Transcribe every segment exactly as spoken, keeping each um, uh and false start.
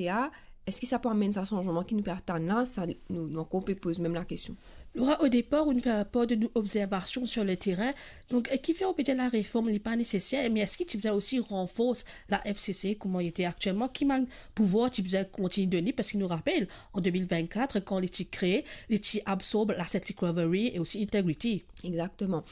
N C A, eski sa pou amenn sa sanzman ki nou pe atann la? Sa, nou, nou ankor pe poz mem lakestion. Laura, au départ, ou fer par de nou observasion sur le terrain. Donk, eh, kifer ou pe dir lareform li pa neseser, me eski ti bizin osi ranfors la F C C kouma li ete aktielman? Ki mann pouvwar ti bizin kontign donn li? Parski nou rapel, an de mil vennkat, kan li ti kree, li ti absorb l'asset recovery e osi integrity. Exactement.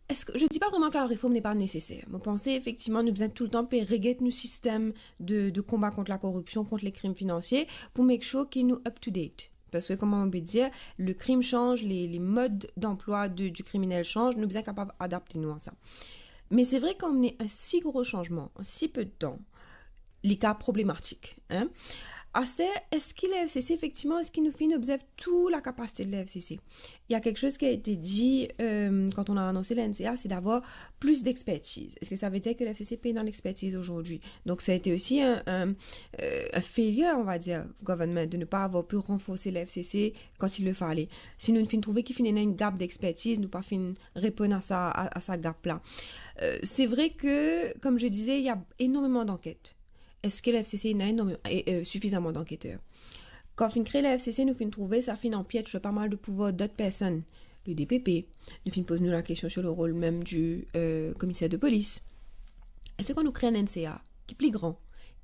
Est-ce que, je dis pas vraiment que la réforme n'est pas nécessaire. Mo panse efektivman nou bizin toultan pe reget nou sistem de, de konba kont lakoripsion, kont lekrim finansie, pou make sure ki nou up to date. Parski, kouma mo pe dir, lekrim sanz, les, les modes d'emploi de, du criminel sanz, nou bizin kapav adapte nou a sa. Me se vre, kan amenn enn si gro sanzman an si pe de tan, li kapav problematik, hein. Aster, eski la F C C, efektivman, eski nou finn observ tou lakapasite de la F C C? Il y a quelque chose qui a été dit, euh, quand on a annoncé la N C A, c'est d'avoir plus d'expertise. Est-ce que ça veut dire que la F C C pena lexpertiz aujourd'hui? Donc, ça a été aussi un, un, euh, un failure, on va dire, government, de ne pas avoir pu renforcer la F C C quand il le fallait. Si nou finn trouve ki finn ena enn gap d'expertise, nou pa finn reponn a sa, a, a sa gap la. Euh, c'est vrai que, comme je disais, il y a énormément d'enquêtes. Eski la F C C ena enorm, e, e, sifizaman d'anketer? Kan finn kree la F C C, nou finn trouve sa finn anpiet sur pa mal de pouvwar dot personn, le D P P. Nou finn poz nou lakestion sur le rol mem du, euh, commissaire de police. Eski kan nou kree enn N C A ki pli gran,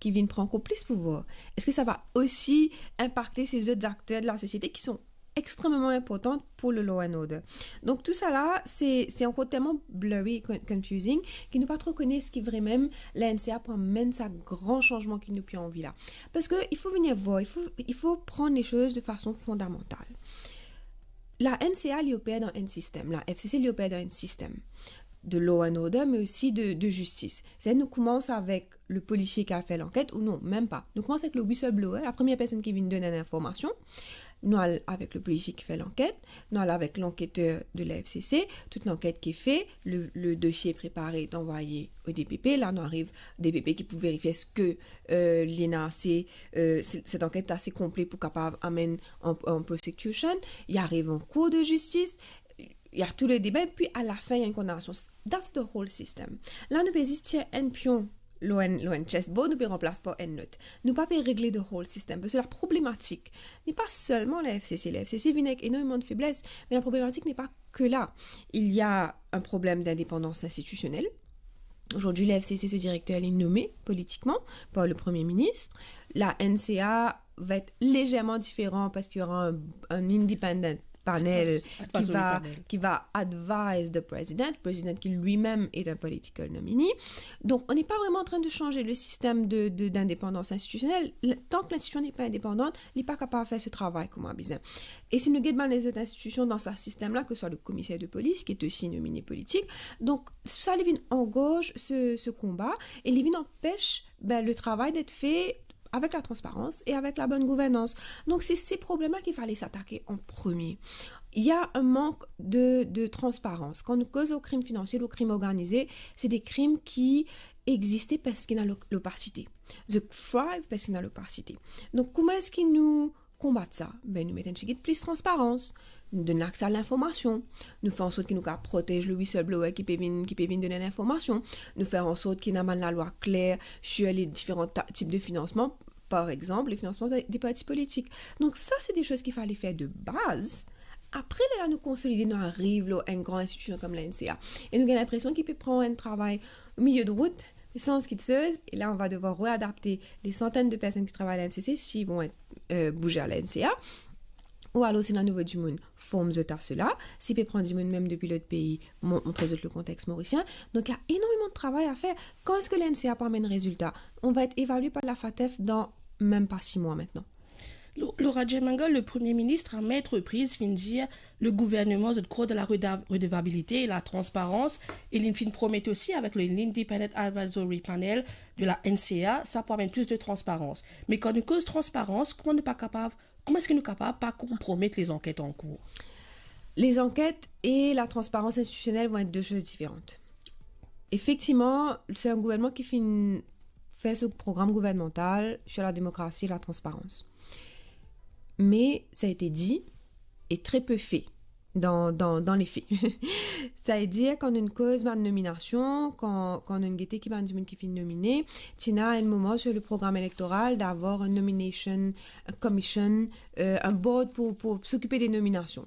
ki vinn pran ankor plis pouvwar, eski sa va osi inpakte se zot akter de la sosiete ki son extrememan inportan pour le law and order? Donc, tout ça là, c'est, c'est encore tellement blurry, con-, confusing, ki nou pa tro kone eski vremem la N C A pou amenn sa gran sanzman ki nou pe anvi la. Parski il faut venir voir, il faut, il faut prendre les choses de façon fondamentale. La N C A, li oper dan enn sistem, la F C C, li oper dan enn sistem de law and order, mais aussi de, de justice. C'est, nou koumans avek le polisie ki al fer lanket, ou non, mem pa. Nou koumans avek le whistleblower, la première personne ki vinn donn enn informasion. Nou al avek le polisie ki fer lanket, nou al avek lanketer de la F C C, tout lanket ki fe, le, le dosie prepare, anvoye o D P P. La, nou ariv D P P ki pou verifie eski, euh, li ena ase, euh, se-, set anket ase konple pou kapav amenn an, an prosecution. Li ariv an kour de zistis, il y a tout le débat, epi a la fin, il y a une condamnation. That's the whole system. La, nou pe zis tir enn pion lor enn, lor enn chessboard, nou pe ranplas par enn lot. Nou pa pe regle the whole system, parski la problematik n'est pas seulement la F C C. La F C C vinn avek enormeman de febles, mais la problématique n'est pas que là. Il y a un problème d'indépendance institutionnelle. Aujourd'hui, la F C C, ce directeur, il est nommé politiquement par le Premier ministre. La N C A va être légèrement différent parce qu'il y aura un, un independent panel qui va, qui va advise the president, le président qui lui-même est un political nominee. Donc, on n'est pas vraiment en train de changer le système de, de, d'indépendance institutionnelle. Le, tant que l'institution n'est pas indépendante, li pa kapav fer so travay kouma bizin. E si nou get bann lezot institusion dan sa sistem la, ke swa le commissaire de police, ki est aussi nominé politique, donk, sa li vinn angorz se, se konba, e li vinn anpes, ben, le travail d'être fait avec la transparence et avec la bonne gouvernance. Donc, c'est ces problèmes-là qu'il fallait s'attaquer en premier. Il y a un manque de, de transparence. Kan nou koz lor krim finansie, lor krim organize, c'est des crimes qui existaient parce qu'il y a l'o-, l'opacité. They thrive parce qu'il y a l'opacité. Donk, kouma eski nou konbat sa? Ben, nou met enn tigit plis transparans. Nou donn akse a linformasion. Nou fer ansort ki nou kapav protez le whistleblower ki pe vinn, ki pe vinn donn linformasion. Nou fer ansort ki ena bann lalwa kler sur les différents ta-, types de financement, par exemple, le financement de, des partis politiques. Donc ça, c'est des choses qu'il fallait faire de base. Après, la, nou konsolide, nou ariv lor enn gran institusion kom la N C A. E nou gagn linpresion ki pe pran enn travay o milieu de rout, sans quelque chose, et là, on va devoir réadapter les centaines de personnes qui travaillent à la F C C, s'ils vont être, euh, bougés à la N C A. Ou alors, si ena nouvo dimoun, form zot a sela. Si pe pran dimoun mem depi lot pei, mon-, montre zot le kontex morisien. Donc, il y a énormément de travail à faire. Quand est-ce que la N C A pou amenn rezilta? On va être évalué par la FATF dans même pas six mois maintenant. Lo-, Laura Jemmengal, le Premier ministre, à maintes reprises, finn dir le gouvernement, zot krwar dan la reda-, redevabilite e la transparans, e li finn promet osi avek le Independent Advisory Panel de la N C A, sa pou amenn plis de transparans. Me kan nou koz transparans, kouma nou pa kapav, kouma eski nou kapav pa konpromet lezanket an kour? Les enquêtes et la transparence institutionnelle vont être deux choses différentes. Effectivement, c'est un gouvernement qui finn fer so program gouvernmantal sur la démocratie et la transparence. Mais ça a été dit et très peu fait. dan, dan, dan lefe. Savedir, kan nou koz bann nominasion, kan, kan nou gete ki bann dimoun ki finn nomine, ti ena enn moman sur le programme électoral d'avoir une nomination commission, euh, un board pour, pour s'occuper des nominations.